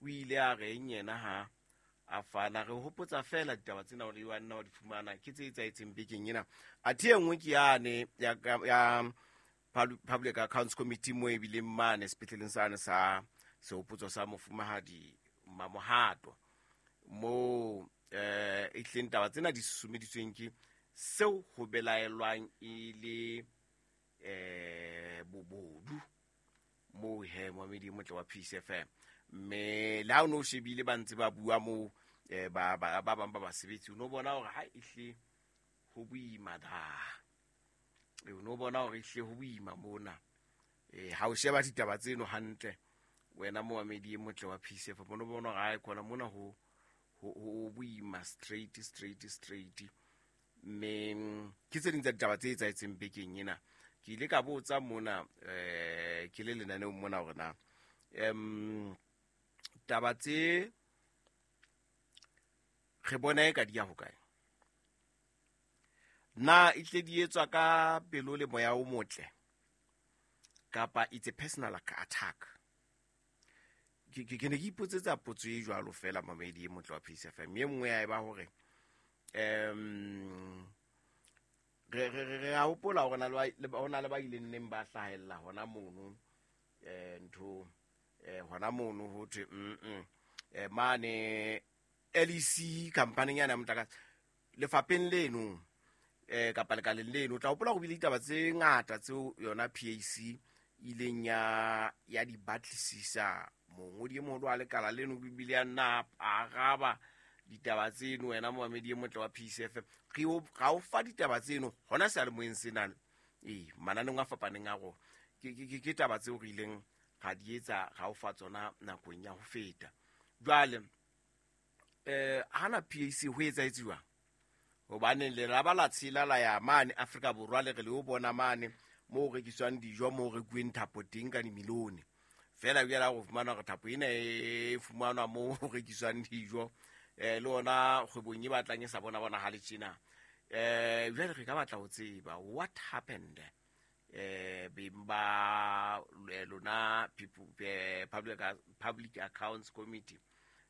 O ile a reng yena ha a fana? Re hopotsa feela ditaba tsena hore wa nna wa di fumana ke tse etsahetseng bekeng ena. Athe e nngwe ke yane ya Public Accounts Committee mo e bileng mane sepetleleng sane sa sehopotso sa mofumahadi Mamohato, moo e tleng taba tsena di susumeditsweng ke seo ho belaelwang e le bobodu moo he moamedi e motle wa Peace FM. Mme le ha o ne o shebile ba ntse ba bua moo, ba bang ba basebetsi, o no bona hore ha ehle ho boima da. O no bona hore ehle ho boima mona. Ha o sheba ditaba tseno hantle, wena moamedi e motle wa Peace FM, o no bona hore ha e khona mona ho boima straight, straight, straight. Mme ke tse ding tsa ditaba tse etsahetseng bekeng ena. Ke ile ka botsa mona, ke le lenaneong mona hore na taba tse re bona e ka di ya hokae, na e tle di etswa ka pelo le moya o motle kapa it's a personal attack? Ke ne ke ipotsetsa potso e jwalo fela, mamedi e motle wa Peace FM. E nngwe ya e ba hore re a hopola hore ho na le ba ileng neng ba hlahella hona mono, ntho, hona mono ho thwe, mane LEC company yana ya motlakase lefapheng leno, kapa lekaleng leno. O tla hopola ho bile ditaba tse ngata tseo yona PAC ileng ya di batlisisa. Mongodi e moholo wa lekala leno bibile ya nna a araba ditaba tseno. Wena moamedi e motle wa Peace FM, re o ga o fa ditaba tseno hona seyalemoyeng sena, mananeng a fapaneng a rona. Ke taba tseo re ileng ra di etsa ga o fa tsona nakong ya ho feta. Jwale hana PAC ho etsahetse jwang? Hobane le la ba la tshela la ya mane Afrika Borwa, le re le o bona mane moo ho rekiswang dijo, moo ho rekuweng thapo teng ka dimilione. Feela jwale ha o fumana hore thapo ena e fumanwa moo ho rekiswang dijo, le ona kgwebong e batlang e sa bona bonahale tjena. Jwale re ka batla ho tseba what happened, beng ba lona people, Public Accounts Committee,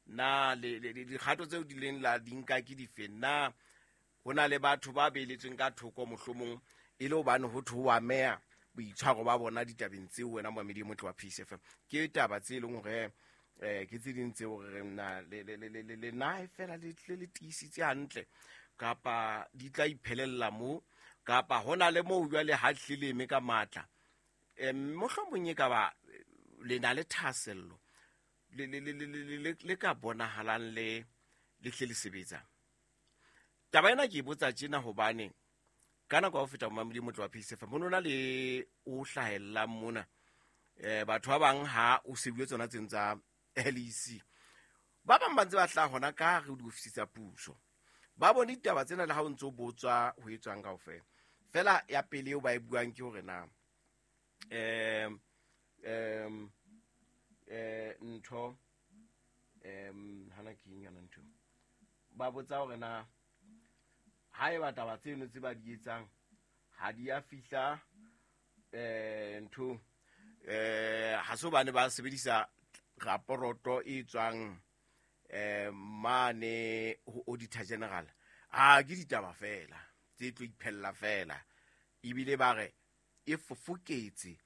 na le dikgato tseo di leng la di nka ke dife? Na ho na le batho ba beeletsweng ka thoko mohlomong e le hobane ho thwe ho ameha boitshwaro ba bona ditabeng tseo? Wena moamedi e motle wa Peace FM, ke taba tse leng hore ke tse ding tseo re reng na le na e fela le tiisitse hantle, kapa di tla iphelella moo, kapa ho na le moo jwale ha hlileme ka matla, mohlomong e ka ba le na le thahasello le ka bonahalang le hle le sebetsa. Taba ena ke e botsa tjena hobane ka nako ya ho feta, momamedi motle wa Peace FM, ho no na le o hlahellang mona, batho ba bang ha o sebuwe tsona tseno tsa LEC, ba bang ba ntse ba hlaha hona ka hare ho diofisi tsa puso, ba bone ditaba tsena le ha o ntso botswa ho etswang kaofela. Fela ya pele eo ba e buang ke hore na ntho, hana ke eng yona ntho, ba botsa hore na ha eba taba tseno tse ba di etsang ha di a fihla, ntho, ha se hobane ba sebedisa raporoto e tswang mane ho Auditor General, a ke ditaba fela tse tlo iphella fela, ebile ba re e fofoketse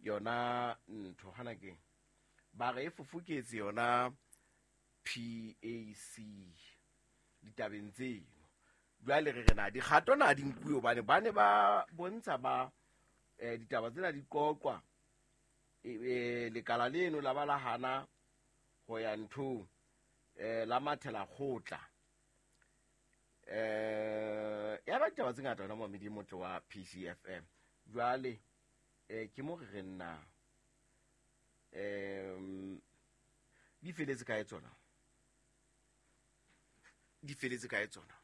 yona ntho, hana ke ba re e fofoketse yona PAC ditabeng tseno. Jwale re re na dikgato na di nkuwe, hobane ba ne ba bontsha ba ditaba tsena di qoqwa, lekala leno la ba la hana ho ya nthong, la mathela kgotla, ya ba ditaba tse ngata. Hona momedi motle wa PCFM, jwale ke mo re re nna di feletse kae tsona, di feletse kae tsona?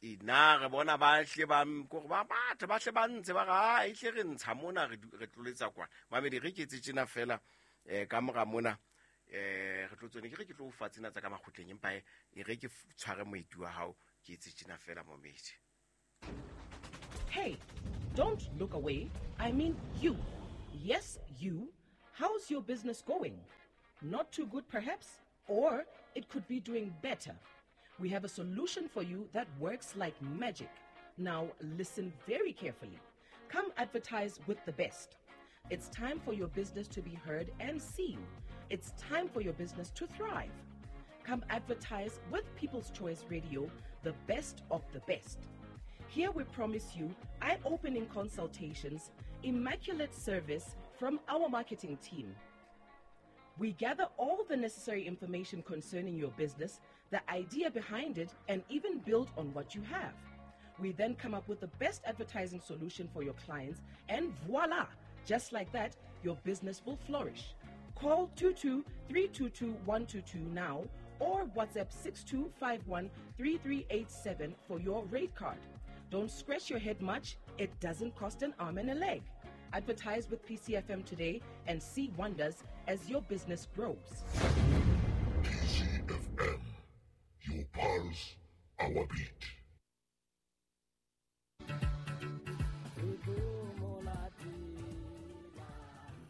E na re bona ba hle ba kore ba batho ba hle ba ntse ba re a e hle re ntsha mona, re tloletsa kwana. Mamedi, re ke etse tjena fela, ka mora mona re tlo tsone, ke re ke tlo o fa tsena tsa ka makgotleng, empa e re ke tshware moeti wa hao, ke etse tjena fela, momedi. Hey, don't look away. I mean you. Yes, you. How's your business going? Not too good, perhaps? Or it could be doing better. We have a solution for you that works like magic. Now, listen very carefully. Come advertise with the best. It's time for your business to be heard and seen. It's time for your business to thrive. Come advertise with People's Choice Radio, the best of the best. Here we promise you eye opening consultations, immaculate service from our marketing team. We gather all the necessary information concerning your business, the idea behind it, and even build on what you have. We then come up with the best advertising solution for your clients, and voila! Just like that, your business will flourish. Call 22 322 122 now or WhatsApp 6251 3387 for your rate card. Don't scratch your head much, it doesn't cost an arm and a leg. Advertise with PCFM today and see wonders as your business grows. PCFM, your pulse, our beat.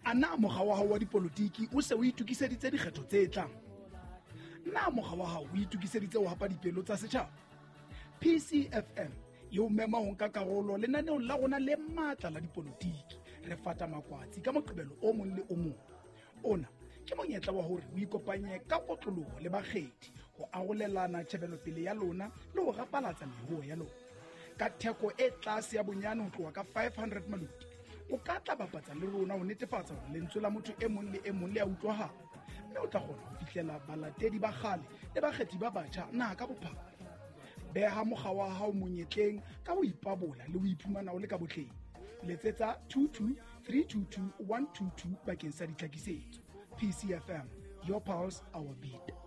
A na mokga wa hao wa dipolotiki o se o itokiseditse dikgetho tse tlang? Na mokga wa hao o itokiseditse ho hapa dipelo tsa setjhaba? PCFM e o mema ho nka karolo lenaneong la rona le matla la dipolotiki. Re fata makwatsi ka Moqebelo o mong le o mong. Ona ke monyetla wa hore o ikopanye ka kotloloho le bakgethi ho arolelana tjhebelopele ya lona le ho rapalatsa meruo ya lona. Ka theko e tlase ya bonyane ho tloha ka 500 maloti, o ka tla bapatsa le rona ho netefatsa hore lentswe la motho e mong le e mong le a utlwahala, mme o tla kgona ho fihlela balatedi ba kgale le bakgethi ba batjha naha ka bophara. Beha mokga wa hao monyetleng ka ho ipabola le ho iphumana o le ka botleng. Letsetsa 22 322 122 bakeng sa ditlhakisetso. PCFM, your pulse, our beat.